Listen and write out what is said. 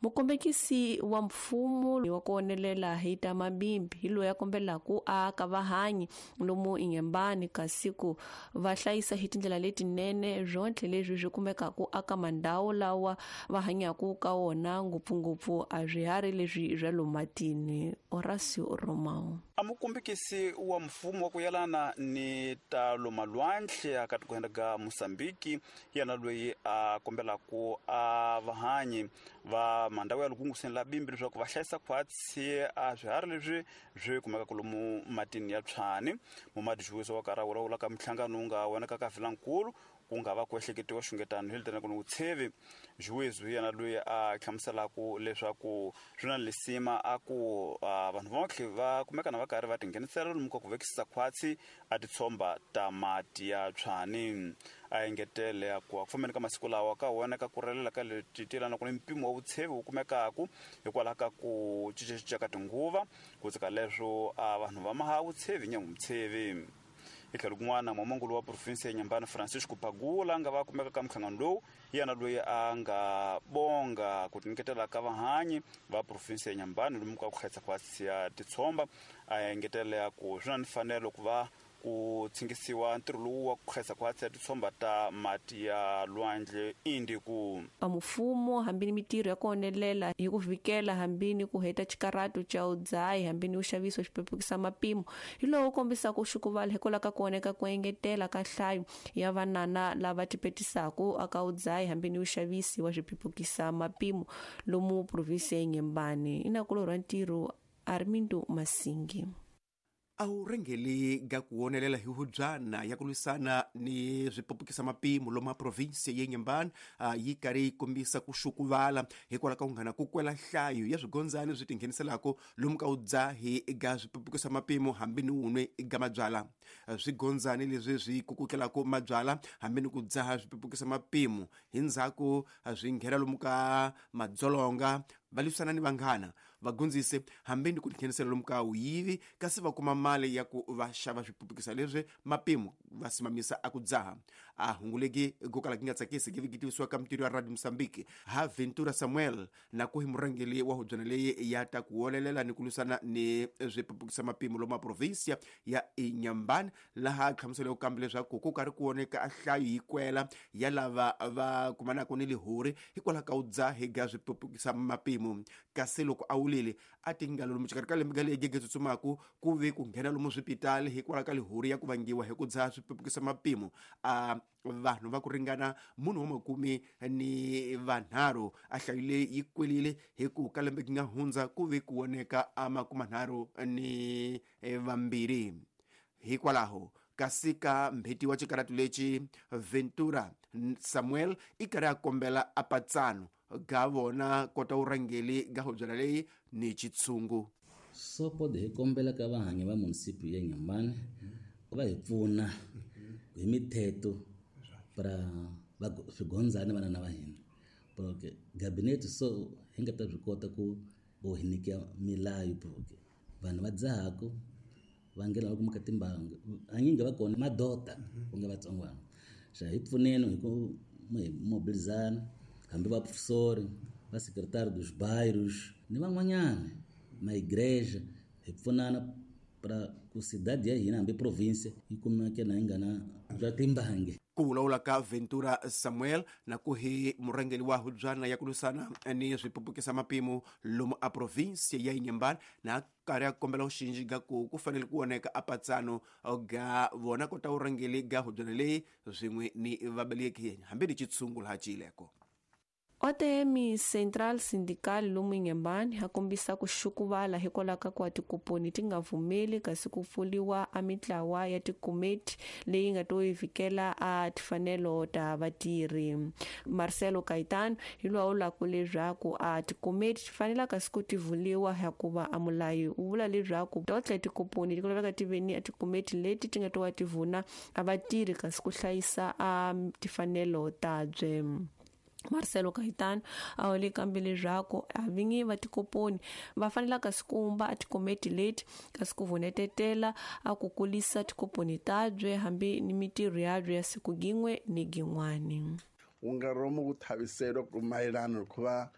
Mukombekisi wa mfumo wa ku onelela hi ta mabimbi hi loyi a kombelaku a aka vahanyi lomu Inhambane kasi ku va hlayisa hi tindlela letinene swontlhe leswi swi kumekaku aka mandhawu lawa va hanyaku ka wona, ngopfungopfu a swiharhi leswi swa lomu matini. Horacio Romao. A mukombekisi wa mfumo wa ku yelana ni ta lomalwandle aka tikweni ga Mozambique yena loyi a kombelaku a vahanyi va mandhawu ya lukunguseni la bimbi leswaku va hlayisa khwatsi a swiharhi leswi swi kumekaka lomu matini ya tshwani. Mumadi Juwiso wa karhi a vulavula ka minhlangano wu nga vonaka ka Vilankulu ku nga va ku ehleketiwa xungetano hi litanaka ni vutshevi. Juwizo hi yena loyi a hlamuselaku leswaku swi na lisima a ku vanhu vontlhe va kumeka na va karhi va tinghenisela lomu ka ku vekisisa khwatsi a titshomba ta mati ya tshwani. A engetele a ku a ku fambeni ka masiku lawa ka voneka ku relela ka leti ti yelanaka ni mpimo wa vutshevi wu kumekaku hikwalaho ka ku cincacinca ka tinguva, ku tsika leswo a vanhu va maha vutshevi nyangu-mutshevi. Hi tlhelo kun'wana, muamangulu wa provinsi ya Inhambane Francisco Pagula a nga va kumeka ka minhlangano lowu hi yena loyi a nga bonga ku tinyiketela ka vahanyi va provinsi ya Inhambane lomu ka ku hlayisa khwatsi ya titshomba. A engetela ku swi na ni mfanelo ku va ku tshingisiwa ntirho lowu wa ku hlayisa khwatsi ya titshomba ta mati ya lwandle Indiku. A mfumo hambi ni mitirho ya ku onelela hi ku vhikela hambi ni ku heta xikarato xa udzayi hambi ni uxaviso xipepukisa mapimo hi lowu kombisaka xukuvala hikwalaho ka ku oneka ku engetela ka nhlayo ya vanana lava tipetisaka aka udzayi hambi ni uxavisi wa swipepukisa mapimo lomu provinsi ya Inhambane. I nakulorhi wa ntirho Armindo Masingi. A wu rhengeli ga ku wonelela hi hubyana ya ku lwisana ni swipupukisa mapimo lomu a provinsi ya Inhambane yi karhi yi kombisa ku xukuvala hikwalaho ka ku nghana ku kwela nhlayo ya swigondzani swi tingheniselaka lomu ka vudzahi ga swipupukisa mapimo hambi ni wunwe ga mabyala. Swigondzani leswi swi kukutlelaka mabyala hambi ni ku dzaha swipupukisa mapimo hi ndzhaku swi nghena lomu ka madzolonga, va lwisana ni vanghana, va gundzise hambi ni ku tinghenisela lomu ka wuyivi, kasi va kuma mali ya ku va xava swipupukisa leswi mapimo va simamisa a ku dzaha. A hunguleki go kala ki nga tsakisi ki tivisiwa ka mitirho ya Radio Mozambique ha Ventura Samuel na ku hi murhangeli wa hubyana leyi ya ta ku wolelela ni ku lwisana ni swipupukisa mapimo lomu a provinsia ya Inhambane, laha a hlamuseleke kambe leswaku ku karhi ku voneka a nhlayo yi kwela ya lava va kumanaka ni lihori hikwalaho ka vudzahi ga swipupukisa mapimo. Kasi loko a wulile a ti nga lomu xikarhi ka lembe ga leyi gege tsutsumaku ku ve ku nghena lomu swipitali hikwalaho ka lihori ya ku vangiwa hi ku dzaha swipupukisa mapimo a vanhu va ku ringana munhu wa makume ni vanharhu. A hlayo leyi yi kwelile hi ku ka lembe ki nga hundza ku ve ku voneka a makumanharhu ni vambirhi. Hikwalaho kasi ka mbheti wa xikaratu lexi Ventura Samuel i karhi a kombela a patsano ga vona kota vurhangeli ga hubyana leyi ni xitshungu. So pode hi kombela ka vahanyi va munisipi ya Inhambane va hi pfuna hi mithetho pra va swigondzani vana va hina, porque gabinete so hi nga ta byi kota ku hi nyika milayo, porque vanhu va dzahaku va nghena va kumeka timbangu hanyingi va kona madota ku nga vatsongwana. Xa hi pfuneni hi ku hi mobilizana hambi va professori va secretary dos bairros ni van'wanyana maigreja, hi pfunana pra ku cidade ya hina hambi province yi kumeke na yi nga na bya timbangi. Ku vulavula ka Ventura Samuel na ku hi murhangeri wa hubyana ya ku lwisana ni swipupukisa mapimo lomu a provinsi ya Inhambane na karhi a kombela vuxinji ga ku ku fanele ku voneka a patsano ga vona kota vurhangeri ga hubyana leyi swin'we ni vabeleki hambi ni xitshungu laha ciyileko. OTM Central Sindical lomu Inhambane a kombisa ku xukuvala hikwalaho ka ku tikuponi ti nga vumeli kasi ku pfuliwa a mitlawa ya tikomiti leyi nga to yi vhikela a tifanelo ta vatirhi. Marcelo Caetano hi loyi a vulaka leswaku a tikomiti ti fanela kasi ku ti vuliwa hikuva a mulayi wu vula leswaku totle tikuponi ti laveka ti ve ni a tikomiti leti ti nga to va ti vuna a vatirhi kasi ku hlayisa a tifanelo ta bye. Marcelo Caetano a wule kambe leswaku a vinyi va tikoponi va fanela kasi ku vumba a tikomiti leti kasi ku vunetetela a ku kulisa tikoponi tabye hambi ni mitirho yabye ya siku gin'we ni gin'wani. Wu nga romu ku thaviselo ku mayelana hikuva